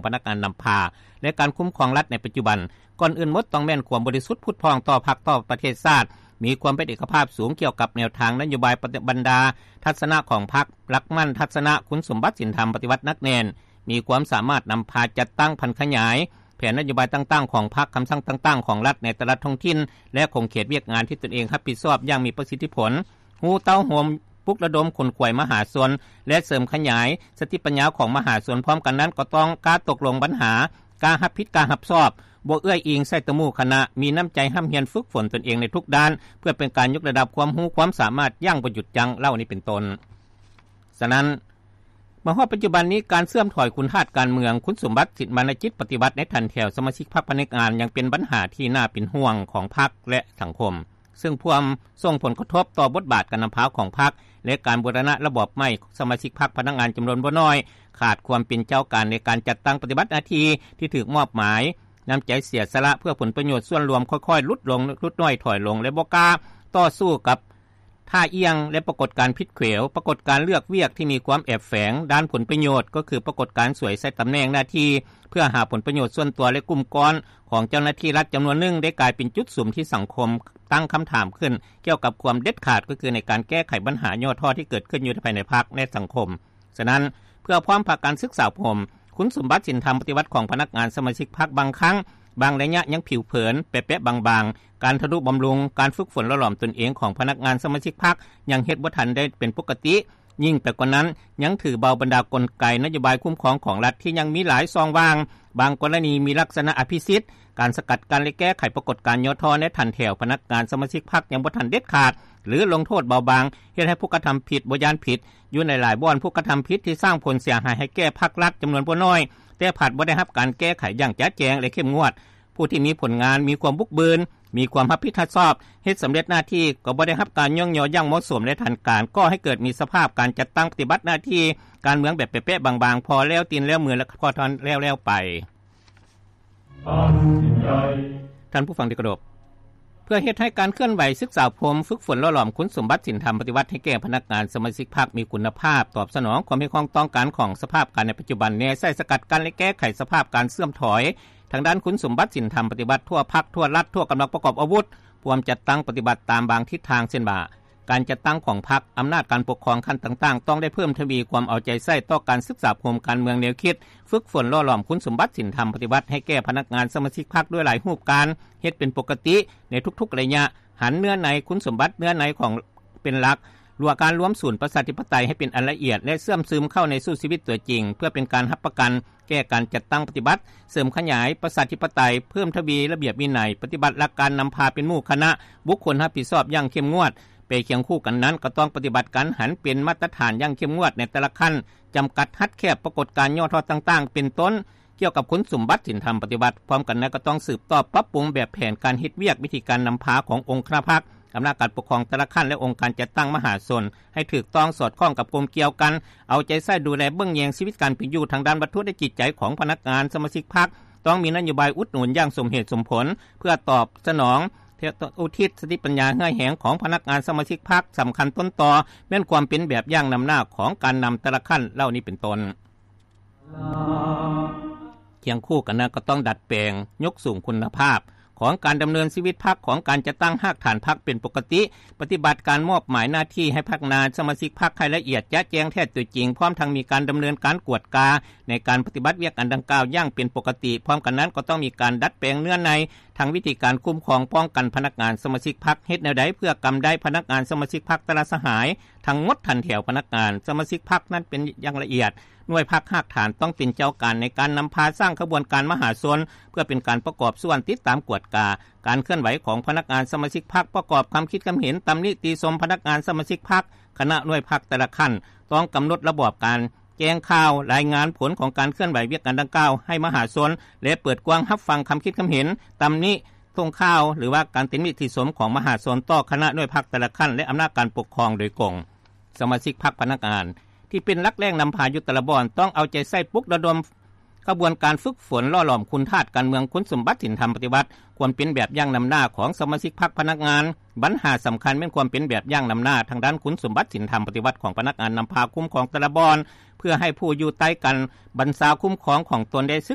ພະນັກງານນຳພາ ແລະ ການຄຸ້ມຄອງລັດໃນປັດຈຸບັນ. ກ່ອນອື່ນໝົດຕ້ອງແມ່ນຄວາມບໍລິສຸດຜຸດຜ່ອງຕໍ່ພັກ, ຕໍ່ປະເທດຊາດ, ມີຄວາມເປັນເອກະພາບສູງກ່ຽວກັບແນວທາງນະໂຍບາຍ, ບັນດາທັດສະນະຂອງພັກ, ຫຼັກໝັ້ນທັດສະນະ, ຄຸນສົມບັດສິນທຳປະຕິວັດໜັກແໜ້ນ, ມີຄວາມສາມາດນຳພາຈັດຕັ້ງຜັນຂະຫຍາຍແຜນນະໂຍບາຍຕ່າງໆຂອງພັກ, ຄຳສັ່ງຕ່າງໆຂອງລັດໃນແຕ່ລະທ້ອງຖິ່ນ ແລະ ຂົງເຂດວຽກງານທີ່ຕົນເອງຮັບຜິດຊອບຢ່າງມີປະສິດທິຜົນ, ຮູ້ເຕົ້າໂຮມ, ປຸກລະດົມຂົນຂວາຍມະຫາຊົນ ແລະ ເສີມຂະຫຍາຍສະຕິປັນຍາຂອງມະຫາຊົນ. ພ້ອມກັນນັ້ນກໍຕ້ອງກ້າຕົກລົງບັນຫາ, ກ້າຮັບຜິດ, ກ້າຮັບຊອບ, ບໍ່ເອື້ອຍອີງໃສ່ຕະໝູ່ຄະນະ, ມີນ້ຳໃຈຮ່ຳຮຽນຝຶກຝົນຕົນເອງໃນທຸກດ້ານ ເພື່ອເປັນການຍົກລະດັບຄວາມຮູ້ຄວາມສາມາດຢ່າງບໍ່ຢຸດຢັ້ງ ເຫຼົ່ານີ້ເປັນຕົ້ນ. ສະນັ້ນ ມາຮອດປັດຈຸບັນນີ້ ການເສື່ອມຖອຍຄຸນທາດການເມືອງ, ຄຸນສົມບັດສິນ ວັນນະຈິດປະຕິວັດໃນຖັນແຖວສະມາຊິກພັກພະນັກງານ ຍັງເປັນບັນຫາທີ່ໜ້າເປັນຫ່ວງຂອງພັກ ແລະ ສັງຄົມ, ເຊິ່ງພວມສົ່ງຜົນກະທົບຕໍ່ບົດບາດການນຳພາຂອງພັກ ແລະ ການບູລະນະລະບອບໃໝ່. ສະມາຊິກພັກພະນັກງານຈຳນວນບໍ່ໜ້ອຍ ຂາດຄວາມເປັນເຈົ້າການໃນການຈັດຕັ້ງປະຕິບັດໜ້າທີ່ທີ່ຖືກມອບໝາຍ, ນ້ຳໃຈເສຍສະຫຼະເພື່ອຜົນປະໂຫຍດສ່ວນລວມຄ່ອຍໆຫຼຸດລົງ, ຫຼຸດນ້ອຍຖອຍລົງ ແລະ ບໍ່ກ້າຕໍ່ສູ້ກັບ ທ່າອ່ຽງ ແລະ ປາກົດການຜິດແຂວ, ປາກົດການເລືອກວຽກທີ່ມີຄວາມແອບແຝງດ້ານຜົນປະໂຫຍດ, ກໍຄືປາກົດການສວຍໃຊ້ຕຳແໜ່ງໜ້າທີ່ເພື່ອຫາຜົນປະໂຫຍດສ່ວນຕົວ ແລະ ກຸ່ມກ້ອນຂອງເຈົ້າໜ້າທີ່ລັດຈຳນວນໜຶ່ງ ໄດ້ກາຍເປັນຈຸດສຸມທີ່ສັງຄົມຕັ້ງຄຳຖາມຂຶ້ນກ່ຽວກັບຄວາມເດັດຂາດ, ກໍຄືໃນການແກ້ໄຂບັນຫາຫຍໍ້ທໍ້ທີ່ເກີດຂຶ້ນຢູ່ພາຍໃນພັກ ແລະ ສັງຄົມ. ສະນັ້ນ ເພື່ອພ້ອມພາກັນສຶກສາອົບຮົມ, ຄຸນສົມບັດສິນທຳປະຕິວັດຂອງພະນັກງານສະມາຊິກພັກບາງຄັ້ງ, ບາງໄລຍະຍັງຜິວເຜີນ, ແປະໆບາງໆ, ການທະນຸບຳລຸງ, ການຝຶກຝົນຫຼໍ່ຫຼອມຕົນເອງຂອງພະນັກງານສະມາຊິກພັກ ຍັງເຮັດບໍ່ທັນໄດ້ເປັນປົກກະຕິ, ຍິ່ງໄປກວ່ານັ້ນ ຍັງຖືເບົາບັນດາກົນໄກນະໂຍບາຍຄຸ້ມຄອງຂອງລັດທີ່ຍັງມີຫຼາຍຊ່ອງວ່າງ, ບາງກໍລະນີມີລັກສະນະອະພິສິດ, ການສະກັດກັ້ນ ແລະ ແກ້ໄຂປາກົດການຫຍໍ້ທໍ້ໃນຖັນແຖວພະນັກງານສະມາຊິກພັກຍັງບໍ່ທັນເດັດຂາດ ຫຼື ລົງໂທດເບົາບາງ, ເຮັດໃຫ້ຜູ້ກະທຳຜິດບໍ່ຢ້ານຜິດ, ຢູ່ໃນຫຼາຍບ່ອນ ຜູ້ກະທຳຜິດທີ່ສ້າງຜົນເສຍຫາຍໃຫ້ແກ່ພັກລັດຈຳນວນບໍ່ໜ້ອຍ ແຕ່ພັດບໍ່ໄດ້ຮັບການແກ້ໄຂຢ່າງຈະແຈ້ງ ແລະ ເຂັ້ມງວດ. ຜູ້ທີ່ມີຜົນງານ, ມີຄວາມບຸກບືນ, ມີຄວາມຮັບຜິດຮັບຊອບ, ເຮັດສຳເລັດໜ້າທີ່ ກໍບໍ່ໄດ້ຮັບການຍ້ອງຍໍຢ່າງເໝາະສົມ ແລະ ທັນການ, ກໍ່ໃຫ້ເກີດມີສະພາບການຈັດຕັ້ງປະຕິບັດໜ້າທີ່ການເມືອງແບບແປະໆບາງໆ, ພໍແລ້ວຕີນແລ້ວມື ແລະ ພໍທັນແລ້ວໆໄປ. ທ່ານຜູ້ຟັງທີ່ເຄົາລົບ, ເພື່ອເຮັດໃຫ້ການເຄື່ອນໄຫວສຶກສາອົບຮົມ, ຝຶກຝົນຫຼໍ່ຫຼອມຄຸນສົມບັດສິນທຳປະຕິວັດໃຫ້ແກ່ພະນັກງານສະມາຊິກພັກມີຄຸນນະພາບ, ຕອບສະໜອງຄວາມຮຽກຮ້ອງຕ້ອງການຂອງສະພາບການໃນປັດຈຸບັນ, ແນໃສ່ສະກັດກັ້ນ ແລະ ແກ້ໄຂສະພາບການເສື່ອມຖອຍທາງດ້ານຄຸນສົມບັດສິນທຳປະຕິວັດທົ່ວພັກ, ທົ່ວລັດ, ທົ່ວກຳລັງປະກອບອາວຸດ, ພວມຈັດຕັ້ງປະຕິບັດຕາມບາງທິດທາງ, ເຊັ່ນວ່າ ການຈັດຕັ້ງຂອງພັກ, ອຳນາດການປົກຄອງຂັ້ນຕ່າງໆ ຕ້ອງໄດ້ເພີ່ມທະວີຄວາມເອົາໃຈໃສ່ຕໍ່ການສຶກສາອົບຮົມການເມືອງແນວຄິດ, ຝຶກຝົນຫຼໍ່ຫຼອມຄຸນສົມບັດສິນທຳປະຕິວັດໃຫ້ແກ່ພະນັກງານສະມາຊິກພັກດ້ວຍຫຼາຍຮູບການ, ເຮັດເປັນປົກກະຕິໃນທຸກໆໄລຍະ, ຫັນເນື້ອໃນຄຸນສົມບັດເນື້ອໃນຂອງເປັນຫຼັກ, ລວມການລວມສູນປະຊາທິປະໄຕໃຫ້ເປັນອັນລະອຽດ ແລະ ເຊື່ອມຊຶມເຂົ້າໃນສູ່ຊີວິດຕົວຈິງ ເພື່ອເປັນການຮັບປະກັນແກ່ການຈັດຕັ້ງປະຕິບັດ, ເສີມຂະຫຍາຍປະຊາທິປະໄຕ, ເພີ່ມທະວີລະບຽບວິໄນ, ປະຕິບັດຫຼັກການນຳພາເປັນໝູ່ຄະນະ, ບຸກຄົນຮັບຜິດຊອບຢ່າງເຂັ້ມງວດ. ໄປຄຽງຄູ່ກັນນັ້ນ ກໍຕ້ອງປະຕິບັດການຫັນເປັນມາດຕະຖານຢ່າງເຂັ້ມງວດໃນແຕ່ລະຂັ້ນ, ຈຳກັດຮັດແຄບປາກົດການຫຍໍ້ທໍ້ຕ່າງໆ ເປັນຕົ້ນ ກ່ຽວກັບຄຸນສົມບັດສິນທຳປະຕິວັດ. ພ້ອມກັນນັ້ນ ກໍຕ້ອງສືບຕໍ່ປັບປຸງແບບແຜນການເຮັດວຽກ, ວິທີການນຳພາຂອງອົງຄະນະພັກ, ອຳນາດການປົກຄອງແຕ່ລະຂັ້ນ ແລະ ອົງການຈັດຕັ້ງມະຫາຊົນ ໃຫ້ຖືກຕ້ອງສອດຄ່ອງກັບກົມກ່ຽວກັນ, ເອົາໃຈໃສ່ດູແລເບິ່ງແຍງຊີວິດການເປັນຢູ່ທາງດ້ານວັດຖຸ ແລະ ຈິດໃຈຂອງພະນັກງານສະມາຊິກພັກ, ຕ້ອງມີນະໂຍບາຍອຸດໜູນຢ່າງສົມເຫດສົມຜົນ ເພື່ອຕອບສະໜອງ ອຸທິດສະຕິປັນຍາເຫື່ອແຮງຂອງພະນັກງານສະມາຊິກພັກ. ສຳຄັນຕົ້ນຕໍແມ່ນຄວາມເປັນແບບຢ່າງນຳໜ້າຂອງການນຳແຕ່ລະຂັ້ນເຫຼົ່ານີ້ເປັນຕົ້ນ. ຄຽງຄູ່ກັນນັ້ນ ກໍຕ້ອງດັດແປງ, ຍົກສູງຄຸນນະພາບຂອງການດຳເນີນຊີວິດພັກ, ຂອງການຈັດຕັ້ງຮາກຖານພັກເປັນປົກກະຕິ, ປະຕິບັດການມອບໝາຍໜ້າທີ່ໃຫ້ພະນັກງານສະມາຊິກພັກໃຫ້ລະອຽດຈະແຈ້ງແທ້ຕົວຈິງ, ພ້ອມທັງມີການດຳເນີນການກວດກາໃນການປະຕິບັດວຽກອັນດັ່ງກ່າວຢ່າງເປັນປົກກະຕິ. ພ້ອມກັນນັ້ນ ກໍຕ້ອງມີການດັດແປງເນື້ອໃນ ທັງວິທີການຄຸ້ມຄອງປ້ອງກັນພະນັກງານສະມາຊິກພັກ, ເຮັດແນວໃດເພື່ອກຳໄດ້ພະນັກງານສະມາຊິກພັກແຕ່ລະສະຫາຍ ທັງໝົດຖັນແຖວພະນັກງານສະມາຊິກພັກນັ້ນເປັນຢ່າງລະອຽດ. ໜ່ວຍພັກຮາກຖານຕ້ອງເປັນເຈົ້າການໃນການນຳພາສ້າງຂະບວນການມະຫາຊົນ ເພື່ອເປັນການປະກອບສ່ວນຕິດຕາມກວດກາການເຄື່ອນໄຫວຂອງພະນັກງານສະມາຊິກພັກ, ປະກອບຄຳຄິດຄຳເຫັນ, ຕຳນິຕິຊົມພະນັກງານສະມາຊິກພັກ. ຄະນະໜ່ວຍພັກແຕ່ລະຂັ້ນຕ້ອງກຳນົດລະບອບການ ແຈ້ງຂ່າວ, ລາຍງານຜົນຂອງການເຄື່ອນໄຫວວຽກງານດັ່ງກ່າວໃຫ້ມະຫາຊົນ ແລະ ເປີດກວ້າງຮັບຟັງຄຳຄິດຄຳເຫັນ, ຕຳນິ, ສົ່ງຂ່າວ ຫຼືວ່າການຕິນິຕິຊົມຂອງມະຫາຊົນຕໍ່ຄະນະໜ່ວຍພັກແຕ່ລະຂັ້ນ ແລະ ອຳນາດການປົກຄອງໂດຍກົງ. ສະມາຊິກພັກພະນັກງານທີ່ເປັນຫຼັກແຫຼ່ງນຳພາຢູ່ແຕ່ລະບ່ອນ ຕ້ອງເອົາໃຈໃສ່ປຸກລະດົມຂະບວນການຝຶກຝົນຫຼໍ່ຫຼອມຄຸນທາດການເມືອງ, ຄຸນສົມບັດສິນທຳປະຕິວັດ, ຄວາມເປັນແບບຢ່າງນຳໜ້າຂອງສະມາຊິກພັກພະນັກງານ. ບັນຫາສຳຄັນແມ່ນຄວາມເປັນແບບຢ່າງນຳໜ້າທາງດ້ານຄຸນສົມບັດສິນທຳປະຕິວັດຂອງພະນັກງານນຳພາຄຸ້ມຄອງແຕ່ລະບ່ອນ ເພື່ອໃຫ້ຜູ້ຢູ່ໃຕ້ການບັນຊາຄຸ້ມຄອງຂອງຕົນໄດ້ສຶ